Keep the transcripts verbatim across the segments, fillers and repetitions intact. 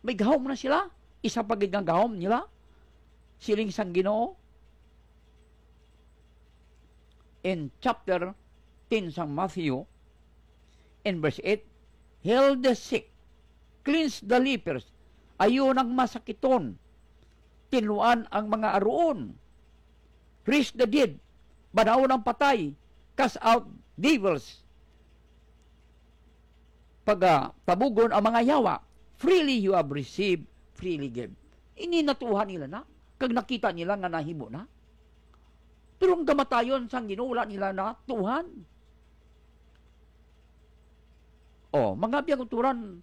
May gahom na sila. Isa pa gid nga gahom nila, siling sang Ginoo in chapter ten sang Matthew, in verse eight, "Heal the sick, cleanse the lepers, ayo nang masakiton, tinluan ang mga aruon, raise the dead, banawon ang patay, cast out devils, pagatabugon ang mga yawa. Freely you have received, freely give." Ini natuhan nila na, kag nakita nila nga nahimo na. Pero ang kamatayon sang Ginoo, wala nila natuhan. Oh, mga biyangturan,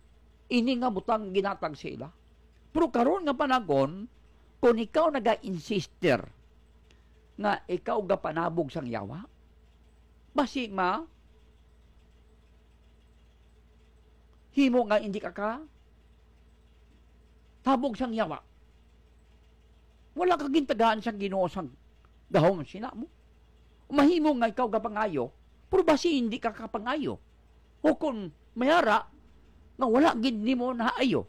ini nga butang ginatag sa ila. Pero karon nga panagon, kung ikaw naga-insister nga ikaw gapanabog sang yawa, basi ma himo nga hindi ka ka tabog sang yawa. Wala ka gintagaan sang Ginoo sang gahom sina mo. Mahimo nga ikaw gapangayo, pero basi hindi ka kapangayo. O kon mayara nga wala gid nimo naayo.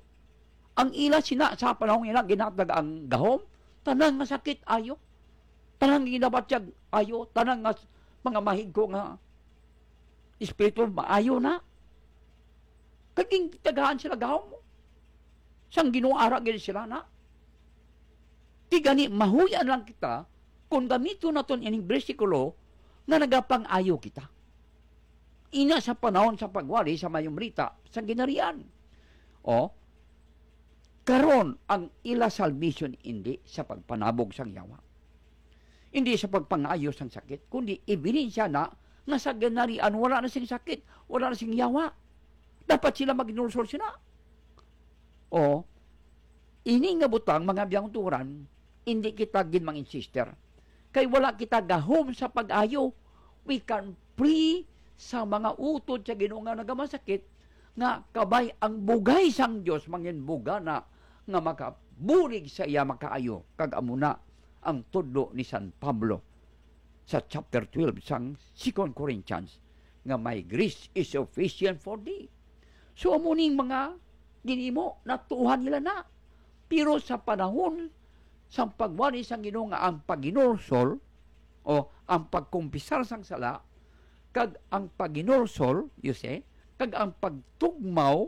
Ang ila sina sa panahon ila ginatag ang gahom, tanan nga sakit ayo. Tanan nga ginabatyag ayo, tanan nga s-, mga mahigko nga espiritu maayo na. Kag gintagaan sila gahom. Sang Ginoo ara gid sila na. Ti gani, mahuy-an lang kita kung gamiton naton ining bersikulo nga nagapang-ayo kita. Ina sa panahon sa pagwali sa mayong balita sa Ginharian. O, karon ang ila salvation indi sa pagpanabog sang yawa, indi sa pagpangayo sang sakit, kundi ebidensya na nga sa Ginharian wala na sing sakit, wala na sing yawa. Dapat sila maghinulsol sina. O, ini nga butang, mga biyangturan, indi kita gid manginsister. Kay wala kita gahom sa pag-ayo. We can pray sa mga utod sa Ginoo nga nagamasakit, nga kabay ang bugay sang Dios manginbugana nga makabulig sa iya makaayo, kag amo na ang tudlo ni San Pablo sa chapter twelve sang Second Corinthians, nga, "My grace is sufficient for thee." So, amo ning mga ginimo, natuhan nila na. Pero sa panahon sang pagwali sang Ginoo nga ang paghinulsol, o ang pagkumpisar sang sala, kag ang paghinulsol, you see, kag ang pagtugmaw,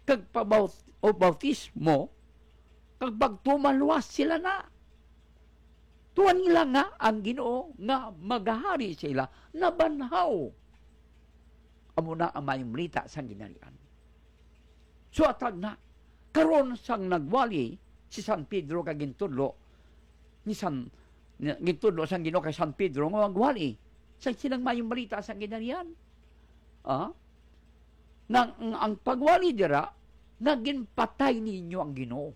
kag pabaut-, o bautismo, kag pagtumaluwas sila na. Tuan nila nga ang Ginoo nga magahari sa ila nabanhaw. Amo na ang mayong balita sang Ginharian. So, atag na, karon sang nagwali si San Pedro kag gintudlo ni San, ni, gintudlo sang Ginoo kay San Pedro nga magwali sa silang mayong balita sang Ginharian. Ah? Nga ang, ang pagwali dira, nga ginpatay ninyo ang Ginoo.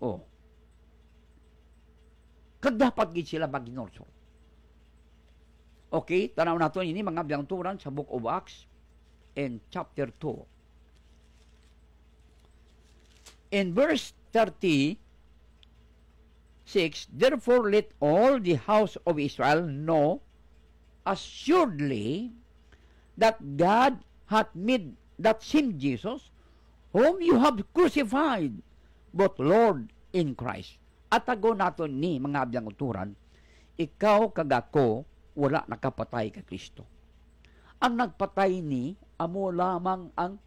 Oh. Kag dapat gid sila maghinulsol. Okay, tanaw nato ini, mga biyangturan, sa Book of Acts in chapter two. In verse thirty-six, "Therefore let all the house of Israel know assuredly that God hath made that same Jesus whom you have crucified, both Lord and Christ." Atagon naton ni, mga biyangturan, ikaw kag ako wala nakapatay kay Kristo. Ang nagpatay ni amo lamang ang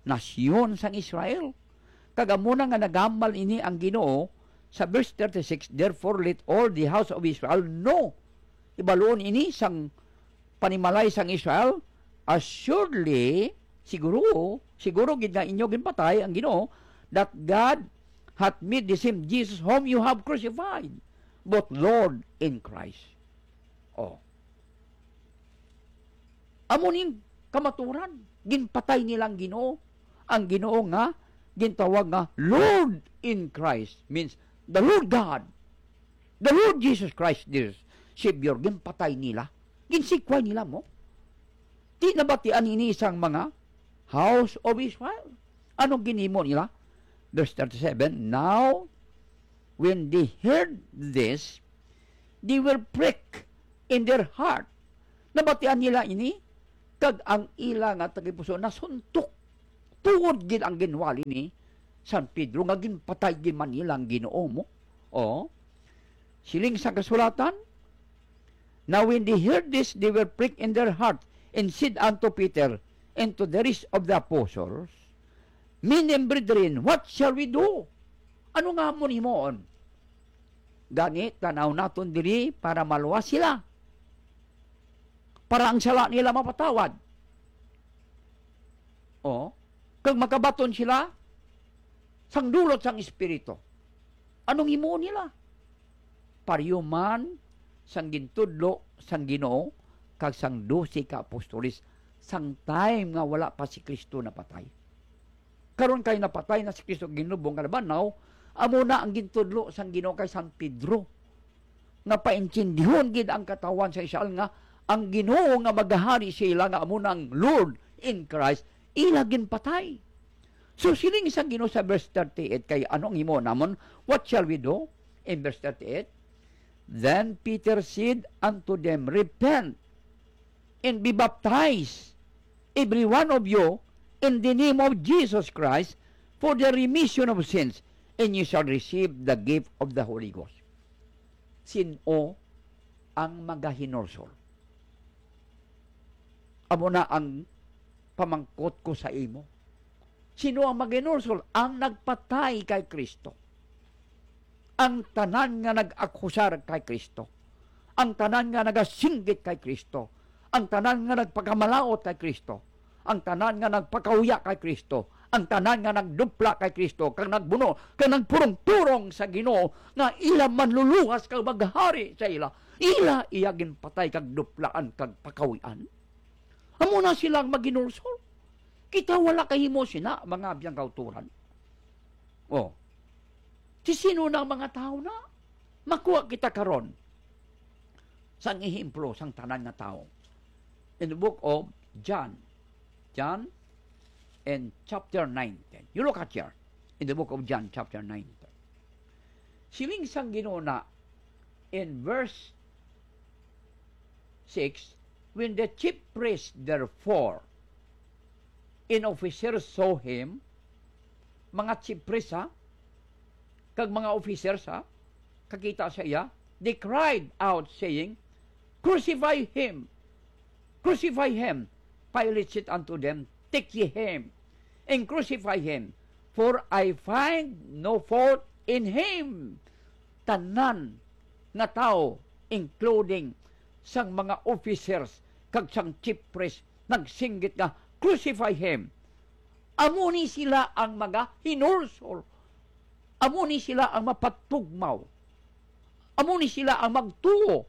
nasyon sang Israel. Kag amo na nga nagambal ini ang Ginoo sa verse thirty-six, "Therefore let all the house of Israel know." Ibaluon ini sang panimalay sang Israel, "Assuredly," siguro, siguro gid nga inyo ginpatay ang Ginoo, "that God hath made the same Jesus whom you have crucified, both Lord and Christ." Oh. Amo ning kamaturan, ginpatay nila ang Ginoo. Ang Ginoo nga gintawag nga Lord in Christ means the Lord God, the Lord Jesus Christ, their Savior, ginpatay nila. Ginsikway nila mo. Di nabatian ini sang mga house of Israel. Anong ginimo nila? Verse thirty-seven, "Now, when they heard this, they were pricked in their heart." Nabatian nila ini, kag ang ila nga tagipuso nasuntok. Tuod gid ang ginwali ni San Pedro, nga ginpatay gid man nila ang Ginoo mo? O, siling sa kasulatan, "Now when they heard this, they were pricked in their heart, and said unto Peter and to the rest of the apostles, Men and brethren, what shall we do?" Ano nga amon himuon? Gani, tanaw naton diri para maluwas sila, para ang sala nila mapatawad. O, kag makabaton sila sang dulot sang Espiritu. Anong himuon nila? Pareho man sang gintudlo sang Ginoo kag sang dose ka apostoles, sang time nga wala pa si Cristo napatay. Karon kay napatay na si Cristo, ginlubong kalaban, now, amo na ang gintudlo sang Ginoo kay San Pedro, nga paintindihon gid ang katawhan sa Israel nga ang Ginoo nga magahari sa ila, nga amo na ang Lord in Christ, ila ginpatay. So, siling sa Ginoo sa verse thirty-eight, kay ano ang himuon namon? What shall we do? In verse thirty-eight, "Then Peter said unto them, Repent and be baptized, every one of you, in the name of Jesus Christ, for the remission of sins, and you shall receive the gift of the Holy Ghost." Sin-o ang magahinulsol? Amo na ang pamangkot ko sa imo. Sino ang magahinulsol? Ang nagpatay kay Cristo. Ang tanan nga nag-akusar kay Cristo. Ang tanan nga nagasinggit kay Cristo. Ang tanan nga nagpakamalaut kay Cristo. Ang tanan nga nagpakahuya kay Cristo. Ang tanan nga nagdupla kay Cristo, kag nagbuno, kag nagpurong-purong sa Ginoo, nga ila manluluwas kag maghari sa ila. Ila iya ginpatay kag duplaan kag pakahuy-an. Amo na sila ang maginulsol. Kita wala kahimo sina, mga abyan kauturan. Oh. Si sino na ang mga tawo na? Makuha kita karon sang ehemplo sang tanan nga tawo. In the book of John, John and chapter nineteen. You look at here. In the book of John, chapter nineteen. Siling sang Ginoo na in verse six, "When the chief priests, therefore, and officers saw him," mga chief priests, ha, kag mga officers, ha, kakita sa iya, they cried out, saying, "Crucify him! Crucify him!" Pilate said unto them, "Take ye him, and crucify him, for I find no fault in him." Tanan nga tawo, including sang mga officers kag sang chief priest, nagsinggit nga, "Crucify him." Amo ni sila ang mga hinulsol. Amo ni sila ang mapatugmaw. Amo ni sila ang magtuo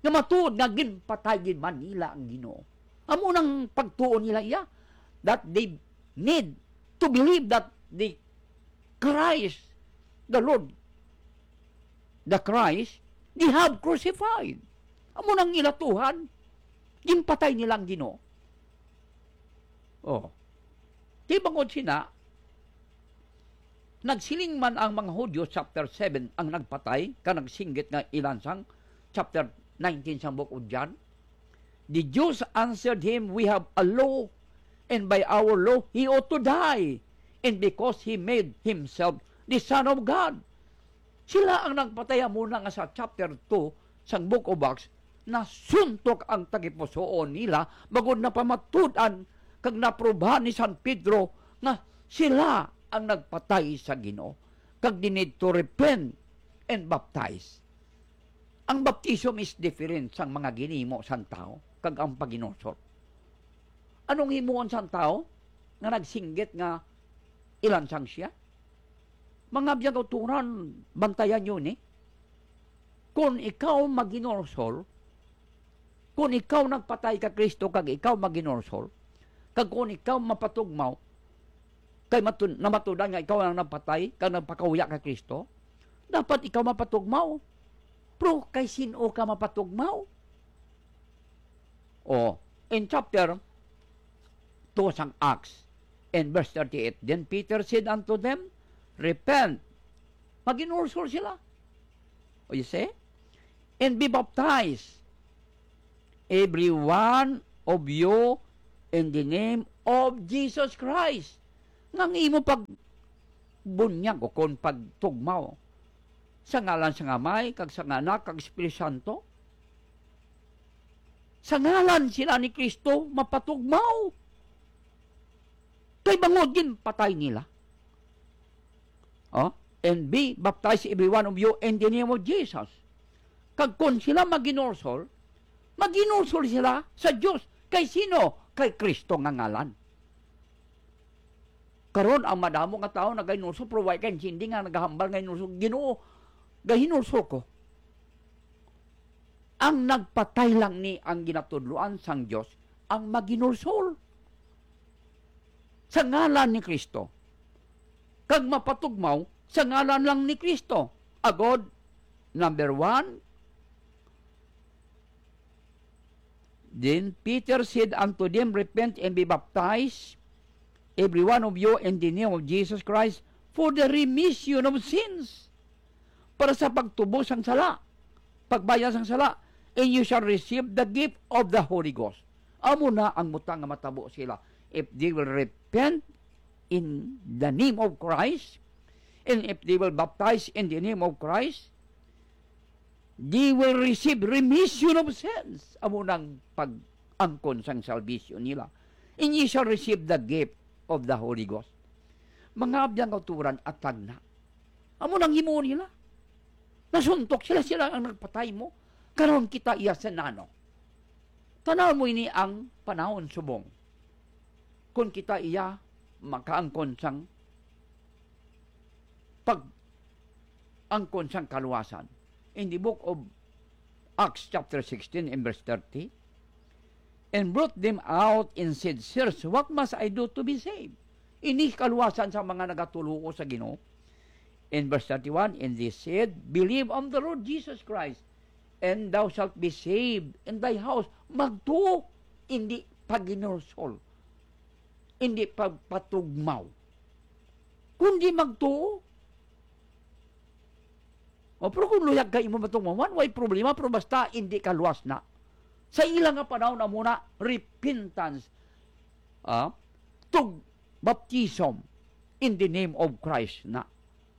nga matuod nga ginpatay gid man nila ang Ginoo. Amo nang pagtuo nila iya, that they need to believe that the Christ, the Lord, the Christ, they have crucified. Amo nang ilatuhan, ginpatay nila ang Ginoo. Oh. Di bangod sina, nagsiling man ang mga Hudio, chapter seven, ang nagpatay, ka nagsinggit nga ilansang, chapter nineteen sang Book of John. The Jews answered him, "We have a law, and by our law he ought to die, and because he made himself the Son of God." Sila ang nagpatay, amo na nga sa chapter two sang Book of Acts, nasuntok ang tagipusoon nila, bangod napamatud-an kag naprubahan ni San Pedro nga sila ang nagpatay sa Ginoo, kag they need to repent and baptize. Ang baptism is different sang mga ginhimo sang tawo kag ang paghinulsol. Anong himuon sang tawo nga nagsinggit nga ilansang siya? Mga biyag-uturan, bantayan niyo ni. Kung ikaw maghinulsol, kung ikaw nagpatay ka Kristo kag ikaw maghinulsol, kag kung ikaw mapatugmaw, kay matu-, namatudan nga ikaw ang nagpatay kag nagpakahuya kay Kristo, dapat ikaw mapatugmaw. Pero kay sin-o ka mapatugmaw? O, in chapter two sang Acts, in verse thirty-eight, "Then Peter said unto them, Repent." Maghinulsol sila. O, you see? "And be baptized, every one of you, in the name of Jesus Christ." Nga ang imo pag bunyag, o kon pagtugmaw, sa ngalan sang Amay, kag sang Anak, kag Espiritu Santo. Sa ngalan sila ni Cristo mapatugmaw, kay bangod ginpatay nila. Oh, and be baptized, every one of you, in the name of Jesus. Kag kon sila maghinulsol, maghinulsol sila sa Dios. Kay sino? Kay Cristo nga ngalan. Karon, ang madamo nga tawo nagahinulsol, pero wa kay intindi nga nagahambal nga hinulsol, "Ginoo, gahinulsol ko." Ang nagpatay lang ni ang ginatudloan sang Dios, ang maghinulsol sa ngalan ni Cristo, kag mapatugmaw sa ngalan lang ni Cristo. Agod, number one, then Peter said unto them, "Repent and be baptized, every one of you, in the name of Jesus Christ, for the remission of sins." Para sa pagtubos sang sala, pagbayad sang sala, "And you shall receive the gift of the Holy Ghost." Amo na ang butang nga matabo sila. If they will repent in the name of Christ, and if they will baptize in the name of Christ, they will receive remission of sins. Amo nang pag-angkon sang salvation nila. "And ye shall receive the gift of the Holy Ghost." Mga abyan kauturan, atag na. Amo nang himuon nila. Nasuntok sila, sila ang nagpatay mo. Karon kita iya sa nano. Tanaw mo ini ang panahon subong. Kung kita iya makaangkon sang pag-angkon sang kaluwasan. In the book of Acts chapter sixteen and verse thirty, "And brought them out and said, 'Sirs, what must I do to be saved?'" Ini kaluwasan sa mga nagatuloo sa Ginoo. In verse thirty-one, "And they said, 'Believe on the Lord Jesus Christ, and thou shalt be saved, and thy house.'" Magtuo, hindi paghinulsol, hindi pagpatugmaw, kundi magtuo. O, pero kung luyag ka imo matugmawan, way problema, pero basta hindi ka luwas na. Sa ila nga panahon, amo na repentance, ah, tug baptism in the name of Christ na.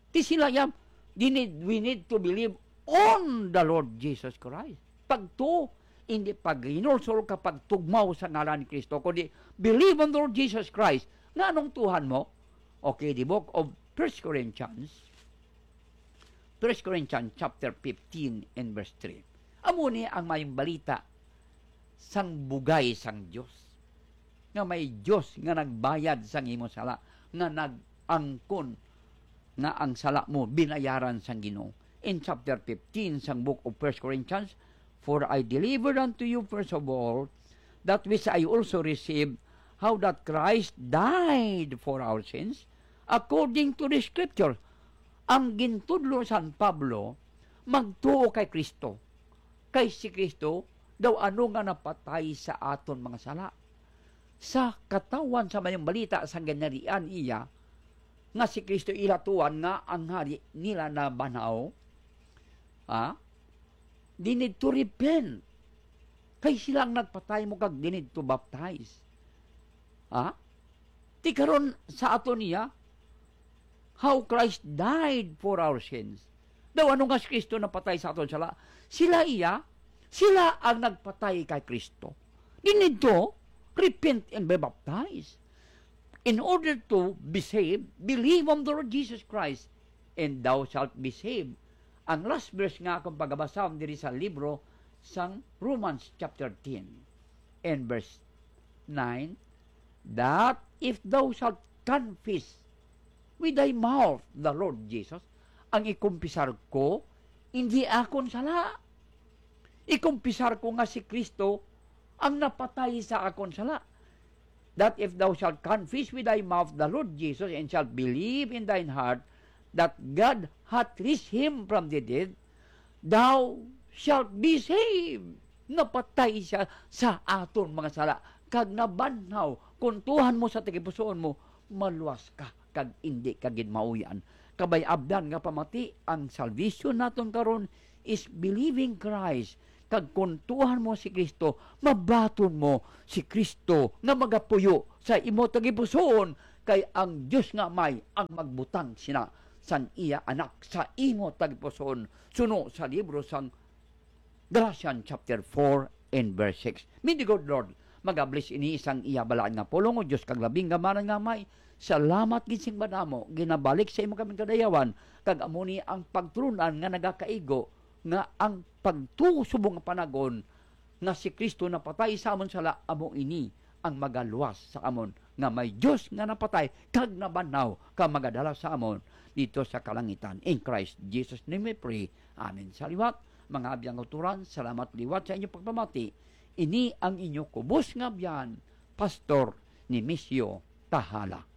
Ti sila yan, they need, we need to believe on the Lord Jesus Christ. Pagtuo, hindi paghinulsol ka pagtugmaw sa ngalan ni Cristo, kundi believe on the Lord Jesus Christ. Nganong tuhan mo? Okay, the book of First Corinthians, First Corinthians chapter fifteen and verse three. Amo ni ang mayong balita sang bugay sang Dios, nga may Dios nga nagbayad sang imo sala, nga nag-angkon nga ang sala mo binayaran sang Ginoo. In chapter fifteen sang book of First Corinthians, "For I delivered unto you first of all that which I also received, how that Christ died for our sins according to the Scripture." Ang gintudlo san Pablo, magtuo kay Cristo. Kay si Cristo daw ano nga napatay sa aton mga sala. Sa katawhan sa mayong balita sang ginharian iya, nga si Cristo ila tuwan nga ang hari nila nabanhaw, ha? They need to repent. Kay sila ang nagpatay mo kag they need to baptize. Ha? Ti karon sa ato niya, how Christ died for our sins. Daw ano nga si Cristo napatay sa aton sala? Sila iya, sila ang nagpatay kay Cristo. They need to repent and be baptized. In order to be saved, believe on the Lord Jesus Christ, and thou shalt be saved. Ang last verse nga akong pagabasahon diri sa libro sang Romans chapter ten and verse nine, that if thou shalt confess with thy mouth the Lord Jesus, ang ikumpisar ko, hindi akon sala. Ikumpisar ko nga si Cristo ang napatay sa akon sala. That if thou shalt confess with thy mouth the Lord Jesus, and shalt believe in thine heart that God hath raised him from the dead, thou shalt be saved. Napatay siya sa aton mga sala, kag nabanhaw. Kung tuohan mo sa tagipusoon mo, maluwas ka, kag indi ka gid mauyan. Kabay abdan nga pamati, ang salvation naton karon is believing Christ. Kag kung tuohan mo si Cristo, mabaton mo si Cristo nga magapuyo sa imo tagipusoon, kay ang Dios nga Amay ang magbutang sina sang iya Anak sa imo tagipusoon, suno sa libro sang Galatians chapter four and verse six. May the good Lord mag-bless ini sang iya balaan nga pulong, O Dios kag labing gamhanan nga Amay. Salamat gid sing madamo, ginabalik sa imo kami kadayawan, kag amo ni ang pagtulon-an nga nagakaigo nga ang pagtuo subong nga panagon nga si Cristo napatay sa amon sala, amo ini ang magaluwas sa amon nga may Dios nga napatay kag nabanhaw kag magadala sa amon dito sa kalangitan. In Christ Jesus name we pray. Amen. Sa liwat, mga abyan nga uturan, salamat liwat sa inyo pagpamati. Ini ang inyo kubos nga abyan, Pastor Nemesio Tahala.